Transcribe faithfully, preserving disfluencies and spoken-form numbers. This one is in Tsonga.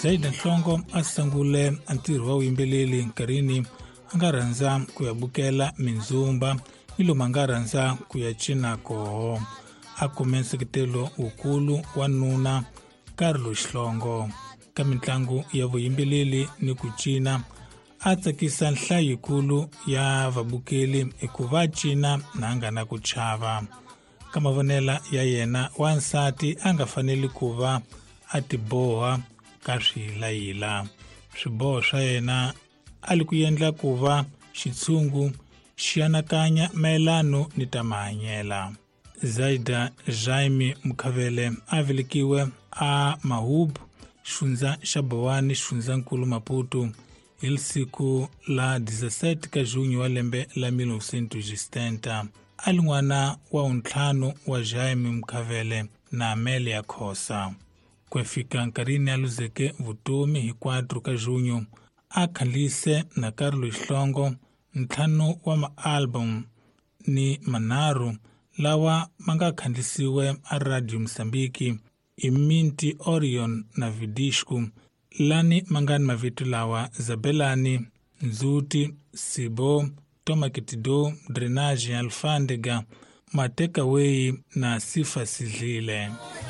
Zaida Nhlongo a sungule ntirho wa vuyimbeleri nkarhini a nga rhandza ku ya bukela mindzumba ni lomu a nga rhandza ku ya cina koho. A kume nseketelo wukulu wa nuna Carlos Hlongo ka mitlangu ya vuyimbeleri ni ku cina. A tsakisa nhlayo yikulu ya vabukeli hikuva cina na a nga na ku chava. Ka mavonela ya yena, wansati a nga faneli ku va a tiboha ka swiyilayila. Swiboho swa yena a li ku endla ku va xitshungu xi anakanya mayelano ni ta mahanyela. Zaida Jaime Mukhavele a velekiwe a Mahub, xifundza xa Bowani, xifundzankulu Maputo, hi siku la dezesete ka junho wa lembe la mil novecentos e setenta. A li n'wana wa wuntlhanu wa Jaime Mukhavele na Amelia Khosa. Ku fika nkarhini a luzeke vutomi hi quatro ka junho, a khandziyise na Carlos Hlongo ntlhanu wa ma-album ni manharhu lawa ma nga khandziyisiwe a Radio Mozambique i Minti Orion na Vidisco, lani ma nga ni mavito lawa: Zabelani, Nzuti, Sibo, Toma Kitido, Drainage, Alfândega, Matekawei na Sifa Sidlile.